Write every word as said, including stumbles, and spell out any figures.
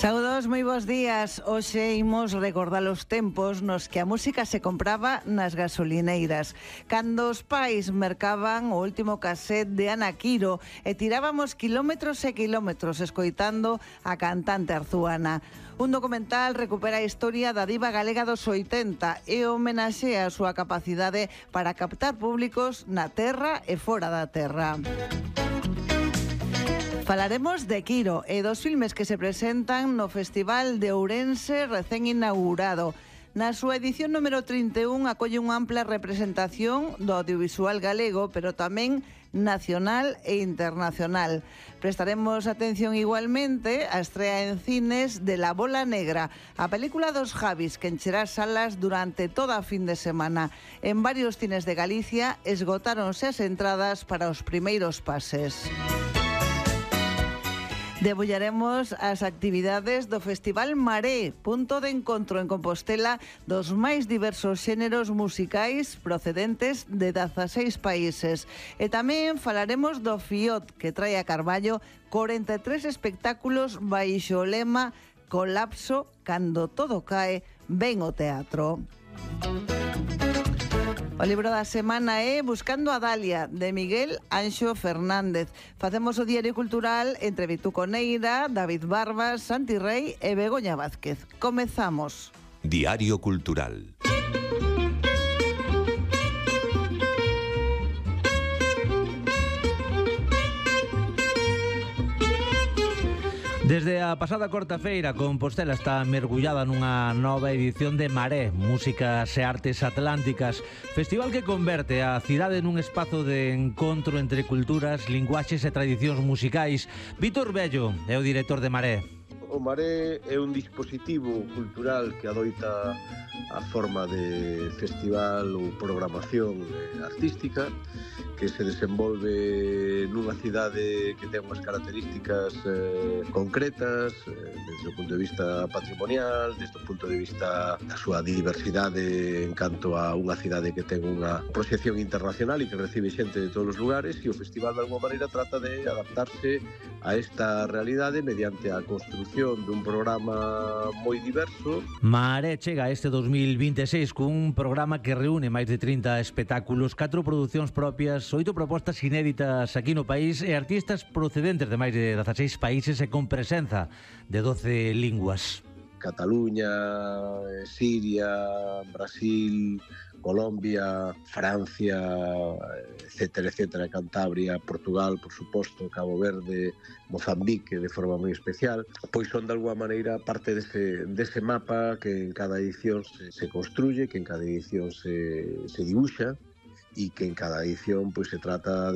Saúdos, moi bons días. Hoxe imos recordar os tempos nos que a música se compraba nas gasolineiras, cando os pais mercaban o último cassette de Ana Quiro e tirábamos quilómetros e quilómetros escoitando a cantante arzuana. Un documental recupera a historia da diva galega dos oitenta e homenaxea a súa capacidade para captar públicos na terra e fora da terra. Falaremos de Quiro e dos filmes que se presentan no Festival de Ourense recén inaugurado. Na súa edición número trinta e un acolle unha ampla representación do audiovisual galego, pero tamén nacional e internacional. Prestaremos atención igualmente á estrea en cines de La Bola Negra, a película dos Javis que encherá salas durante toda a fin de semana. En varios cines de Galicia esgotáronse as entradas para os primeiros pases. Debullaremos as actividades do Festival Maré, punto de encontro en Compostela dos máis diversos xéneros musicais procedentes de dezaseis países. E tamén falaremos do FIOT, que trae a Carballo corenta e tres espectáculos baixo o lema Colapso, cando todo cae, ven o teatro. O libro da semana é Buscando a Dalia, de Miguel Anxo Fernández. Facemos o Diario Cultural entre Vituco Neira, David Barbas, Santi Rey e Begoña Vázquez. Comezamos. Diario Cultural. Desde a pasada corta-feira, Compostela está mergullada nunha nova edición de Maré, Músicas e Artes Atlánticas, festival que converte a cidade nun espazo de encontro entre culturas, linguaxes e tradicións musicais. Vítor Bello é o director de Maré. O Maré é un dispositivo cultural que adoita a forma de festival ou programación artística que se desenvolve nunha cidade que ten unhas características eh, concretas eh, desde o punto de vista patrimonial, desde o punto de vista da súa diversidade en canto a unha cidade que ten unha proxección internacional e que recibe xente de todos os lugares, e o festival de alguma maneira trata de adaptarse a esta realidade mediante a construción dun programa moi diverso. Maré chega este dos mil vinte e seis cun programa que reúne máis de trinta espectáculos, catro producións propias, oito propostas inéditas aquí no país e artistas procedentes de máis de dezaseis países e con presenza de doce linguas. Cataluña, Siria, Brasil, Colombia, Francia, etcétera, etcétera, Cantabria, Portugal, por suposto, Cabo Verde, Mozambique, de forma moi especial, pois son de alguma maneira parte dese, dese mapa que en cada edición se, se construye, que en cada edición se, se dibuxa, e que en cada edición pois se trata de